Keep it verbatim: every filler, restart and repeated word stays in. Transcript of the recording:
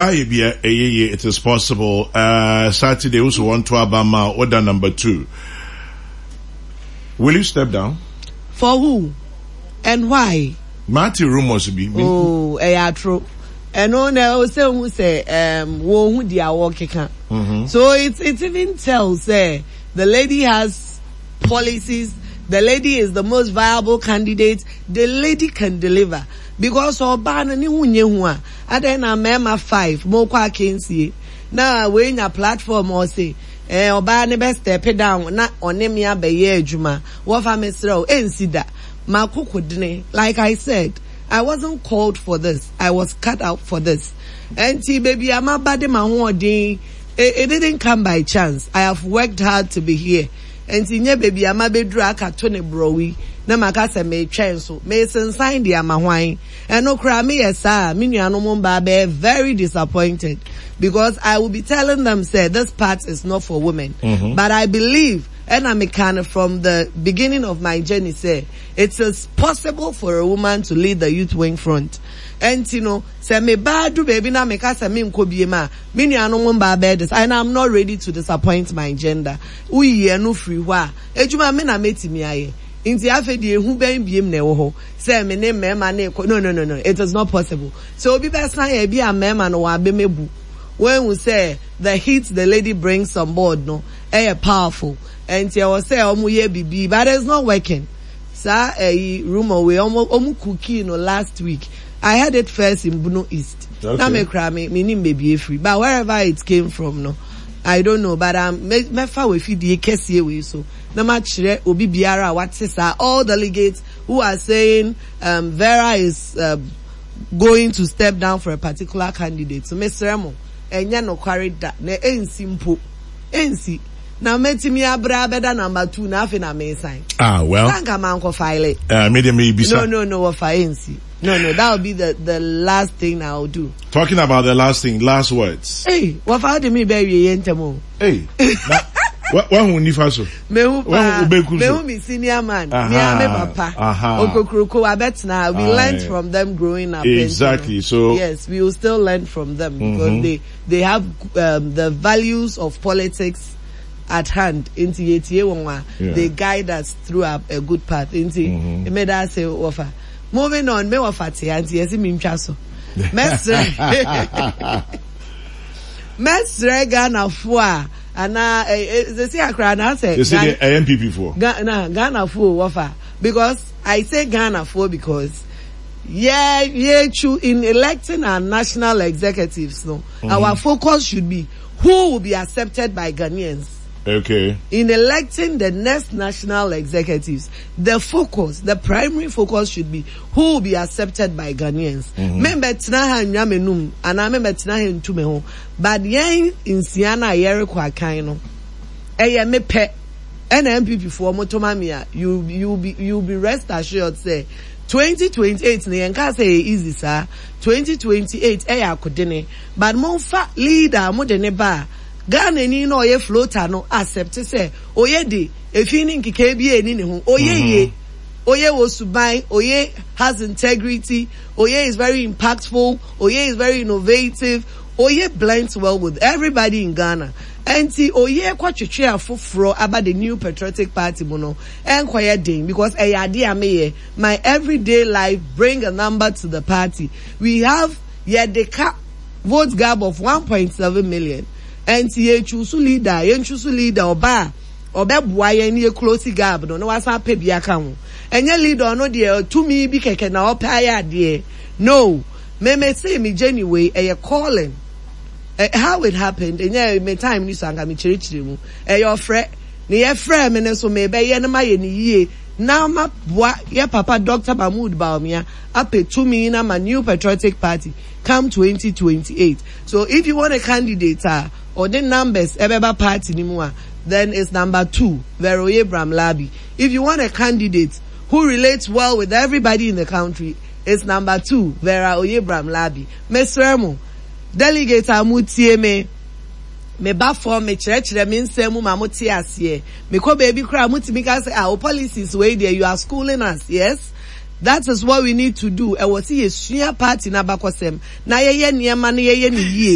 Ayɛ bia ɛyɛ yie it is possible uh, Saturday woso wɔn to aba ma woda number two. Will you step down? For who and why? Mate rumors bi. Oh, ɛyɛ atoro. Ɛno na ɛwɔ sɛ ohun sɛ um, wɔn ho di a wɔkeka. Mm-hmm. So it it even tells sɛ the lady has policies. The lady is the most viable candidate. The lady can deliver because ɔbaa no ne ho nye ho a adan na mmarima five mo kɔ akansie na wei nya platform ɔse ɛɛ ɔbaa ne bɛ step down na ɔne me abɛyɛ adwuma wɔfa me srɛ o ɛnsi da makoko dene like I said I wasn't called for this I was cut out for this ɛnti beebi a maba de ma hoɔden it, it didn't come by chance I have worked hard to be here nti nye beebi a mabɛduru aka to ne borɔwi na maka sɛ metwɛn so mesensan de ama hwan ɛno koraa meyɛ saa me nuanom mbaa bɛyɛ very disappointed because I will be telling them sɛ this part is not for women mm-hmm. but I believe and I'm kind of from the beginning of my journey sɛ it is possible for a woman to lead the youth wing front and you know sɛ me baa du baabi na meka sɛ me nkɔ bie ma me nuanom mbaa bɛyɛ this and I'm not ready to disappoint my gender woyi ɛno firi hɔ a edwuma me na metumi ayɛ nti afei deɛ ehu bɛn biem na ɛwɔ hɔ sɛ me ne mmarima ne kɔ no no no no it is not possible so obi bɛsan yɛ bi a mmarima no wɔn abɛmɛbu wɔn ehu sɛ the heat the lady brings on board no ɛyɛ powerful nti ɛwɔ sɛ wɔn yɛ bibi but it's not working saa ɛyi rumour wei wɔn wɔn cookie no last week I heard it first in Bono East okay. na me kura me me nim beebi efiri but wherever it came from no I don't know but um mɛfa wɔ efidie kɛseɛ wei so na ma kyerɛ obi biara a wate saa all delegates who are saying um, Vera is uh, going to step down for a particular candidate so mesrɛ mo ɛnyɛ nokware da na ɛnsi mpo ɛnsi na mɛtumi abrɛ abɛda number two na afei na mesan. ah well sanka maa nkɔ file. Uh, me de me bisa. no no no wɔfa ɛnsi no no that will be the the last thing I will do. talking about the last thing last words. Hey, wɔfa de mi bɛ wie yɛ ntɛm o. Hey, na wahu nifa so. Mehu paa mehu mi senior man mi a me papa okokroko abɛtena we learnt from them growing up. Exactly so. Yes we will still learn from them because mm -hmm. they they have um, the values of politics at hand nti yɛtie wɔn a they guide us through a, a good path nti mmeda ase wɔfa moving on me wɔfa te nti yɛsi mi ntwa so mɛsrɛ mɛsrɛ Ghanafoɔ a anaa sisi akora anaasɛ. Sisi de ɛyɛ NPP foɔ. Ghana Ghanafoɔ wɔfa because I say Ghanafoɔ because yeah yeah true in electing our national executives no mm-hmm. our focus should be who will be accepted by Ghanaians. Okay. In electing the next national executives, the focus, the primary focus should be who will be accepted by Ghanaians. Membɛ tena ha nwa menum anaa membɛ tena ha ntu me ho. But yɛn nsia na yɛrekɔ akan no, ɛyɛ me pɛ. Ɛna NPP foɔ mo toma me a, you you be you be rest assured sɛ twenty twenty eight no yɛn kaa sɛ ɛyɛ easy saa. twenty twenty eight ɛyɛ akodene. But momfa leader a mo de ne ba a, Ghana ni na ɔyɛ floater no accept sɛ ɔyɛ de efi ne nkekae bi eni ne ho. Ɔyɛ yie. Oye wɔ suban, Oye has integrity, Oye is very impactful, Oye is very innovative, Oye blends well with everybody in Ghana. Ɛnti Oye kɔtwetwe afoforɔ aba the new patriotic party mu no, ɛnkɔyɛ den because ɛyɛ adeɛ a meyɛ. My everyday life bring a number to the party. We have yɛde ka vote gap of one point seven million. Ɛnti yɛ choose leader, yɛn choose leader ɔba a ɔbɛboa yɛn ne yɛ close gap no na wasan apɛ bi aka ho. Ɛnyɛ leader ɔno deɛ tumi bi kɛkɛ na ɔpɛ ayɛ adeɛ. No. Me me se me journey wei ɛyɛ calling. Eh, how it happened, ɛnyɛ me time ni so anka me kyerɛkyerɛ mu. Ɛyɛ ɔfrɛ. Ne yɛfrɛ me ne so me bɛyɛ no ma yɛ ne yie. Na ma boa yɛ papa Dr. Mahmoud Bawumia apɛ tumi na ma New Patriotic Party come twenty twenty-eight. So if you want a candidate a ɔde numbers ɛbɛba party ni mu a, then it's number two, Vera Oye Bram-Larbi. If you want a candidate who relates well with everybody in the country, it's number two, Vera Oye Bram-Larbi. Mesrɛ mo, delegate a mo tie me, me ba fam, me kyerɛkyerɛ me nsɛm mu ma mo te aseɛ. Me kɔ baabi koraa mo tumi ka sɛ, ah, o policies wei deɛ, you are schooling us, yes? That is what we need to do. Ɛwɔ sɛ yɛsua party n'abakɔsɛm na yɛyɛ nneɛma no yɛyɛ ne yie.